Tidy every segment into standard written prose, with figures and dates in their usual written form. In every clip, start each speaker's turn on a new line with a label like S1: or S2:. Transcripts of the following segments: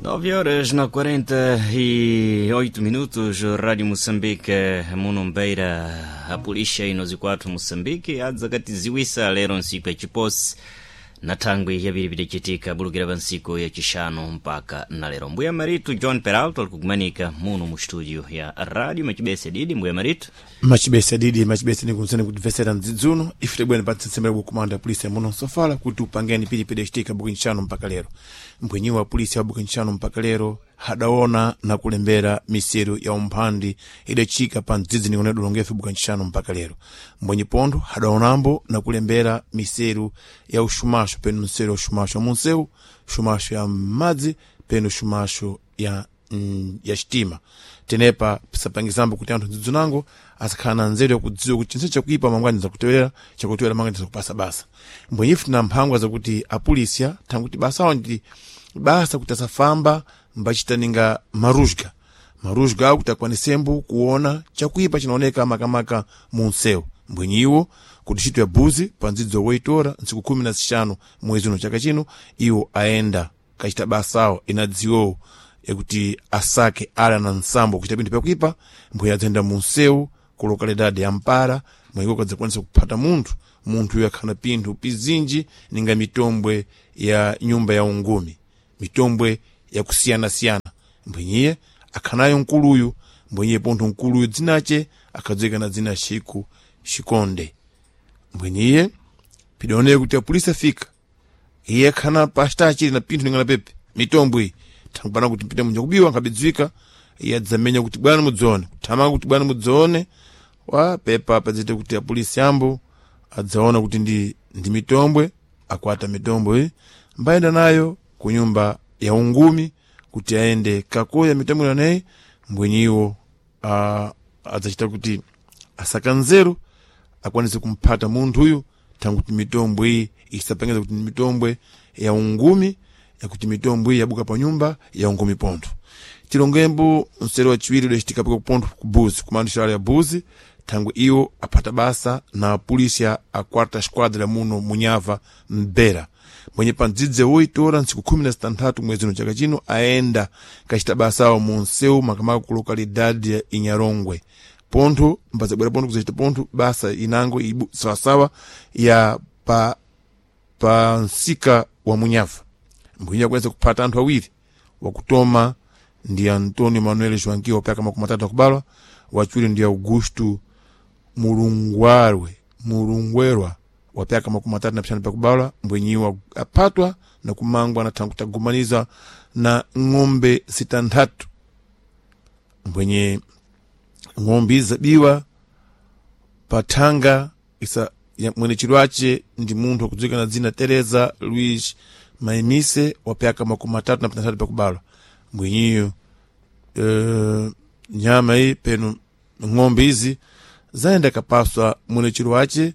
S1: 9 horas na 48 minutos, Rádio Moçambique, Munombeira, a polícia inozi kwathu Moçambique adzakatiziwisa lero nsiku ya chiposi na thangwi yaviri vidacitika bulukira pa nsiku ya chixanu mpaka na lero. Mbuya Maritu John Peralto alikukumanika muno mu studio ya Rádio Machibese Didi. Mbuya Maritu.
S2: Machibese didi machibese nikunzeni kutimvesera mdzidzuno ife tibwene pa tsitsimira kukumanda polisi muno nsofala kuti upangeni pilipili yacitika buku ntchano mpaka lero. Mbwenyiwa wa polisi wa buku ntchano mpaka lero hadaona na kulembera miseru ya umphandi idacika pa mdzidzi nikone dolongefe buku ntchano mpaka lero. Mbwenyi pontho hadaonambo na kulembera miseru ya uxumaxo, penu mseru ya uxumaxo wa munsewu, xumaxo ya madzi, penu xumaxo ya xitima. Tenepa pisapangizambo kuti anthu mdzidzi nango asakhala na nzeru yakudziwa kuti chinthu chakuipa mangwani zakutewera, chakutewera mangwani zakupasa basa. Mbwenyifu tina mphangwa zakuti apolisiya thanguti basawo ndi basa kuti asafamba mbachita ninga maruzga maruzga awo kuti akwanisembo kuona chakuipa chinaoneka makamaka mu msewu. Mbwenyiwo kuti ntchito ya buzi pa ndzidzo woitora ntsiku 15 mwezi uno chaka chino, iwo aenda kachita basawo inadziwowo yakuti asake ala na nsambo kuchita pinthu pakuipa. Mbwe adzayenda mu msewu ku lokalidade ya Mpara, mweko kadzakwanisa kuphata munthu. Munthu uyu akhana pinthu pizinji ninga mitombwe ya nyumba ya ungumi, mitombwe yakusiyanasiyana. Mbwenyiye akhanayo nkuluyu. Mbwenyiye pontho nkuluyu dzinace akhadziwika na dzina Chiku Chikonde. Mbwenyiye pidaoneka kuti apolisi afika, iye akhana pachita na pinthu ningana pepe mitombwe iyi thangupana kuti mpite munja kubiwa nkhabidziwika. Iye adzamenya kuti bwana mudzione, kuthamanga kuti bwana mudzione wa pepa padzite kuti apolisi ambo adzaona kuti ndi mitombwe. Akwata mitombwe iyi mbayenda nayo ku nyumba ya ungumi kuti aende kakoya mitombwe naneyi. Mbwenyiwo adzachita kuti asaka nzeru akwanise kumphata munthuyu, thanguti mitombwe iyi isapangiza kuti ndi mitombwe ya ungumi, yakuti mitombwe iyi yabuka pa nyumba ya ungumi. Pontho tilongembo mseri wachiwiri udacitika paka pontho ku Buzi, kumando xilalo ya Buzi, thangwe iwo aphata basa na polisia a quarta esquadra muno munyava mbera. Mwenye pa mdzidzi woitora ntsiku 16 mwezi uno chaka chino aenda kachita basawo mu msewu makamaka ku lokalidade ya Inyarongwe. Pontho mbazabwera pontho kuzachita pontho basa inango ibu sawasawa ya pa msika wa munyava. Mbwenye akwanisa kuphata anthu awiri: wakutoma ndi Antonio Manuel Joaquim wapyaka 30 akubalwa, wachiwiri ndi Augusto Mulungwarwe Mulungwerwa wapyaka 35 pakubalwa. Mbwenyiwa aphatwa na kumangwa na thangu tagumaniza na ng'ombe 6. Mbwenye ng'ombe izabiwa pathanga isa mwene chilwace ndi munthu akudziwika na dzina Teresa Luis Maimise wapyaka 36 pakubalwa. Mbwenyiyo nyama iyi penu ng'ombe izi zayenda kapaswa mwene chilwace.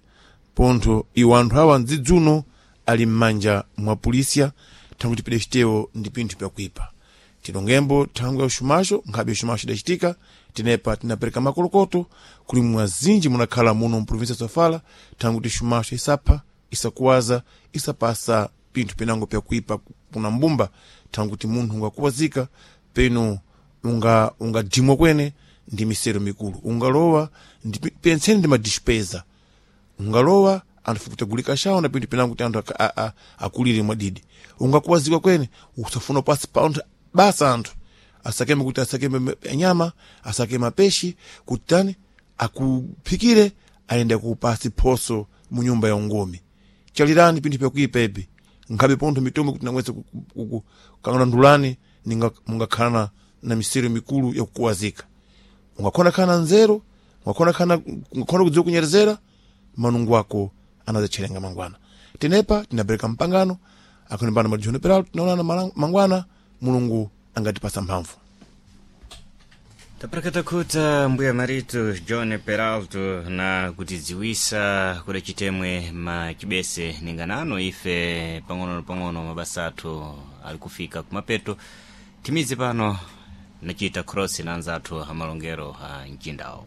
S2: Pontho iwo anthu awa mdzidzuno ali m'manja mwa polisia, thanguti pedacitewo ndi pinthu pyakuipa. Tilongembo thangwi ya uxumaxo, nkhabe uxumaxo idacitika. Tenepa tinapereka makolokoto kuli mwazinji munakhala muno mprovinsia ya Sofala, thanguti xumaxo isapha, isakuwaza, isapasa pinthu pinango pyakuipa kuna mbumba, thanguti munthu ungakuwazika penu ungadimwa kwene ndi misero mikulu ungalowa ndi pentseni ndi madispeza ungalowa anthu fukutagulika shawo na pinthu pinango kuti anthu akulire mwadidi. Ungakuwazikwa kwene usafuna pasi pa anthu basa anthu asakeme kuti asakeme nyama, asake mapeshi kuti tani akuphikire ayende kupasi phoso mu nyumba ya ungumi. Chalirani pinthu pyakuipa ipi nkhabe pontho mitombo kuti namwese kang'anandulani ninga mungakhala na misero mikulu yakukuwazika. Ungakhona khana nzeru, ungakhona kudziwa kunyerezera manungu ako anadzacherenga mangwana. Tenepa tinapereka mpangano akhonimbana madjono peralo tinaonana mangwana, Mulungu angatipasa mphamvu.
S1: Taprakata khuta mbuya Maritu John Peralto na kutidziwisa kuda chitemwe machibese ninganano ife pang'ono na pang'ono mabasa athu ali kufika kumapeto. Timize pano nachita cross na anzathu amalongero a mchindawo.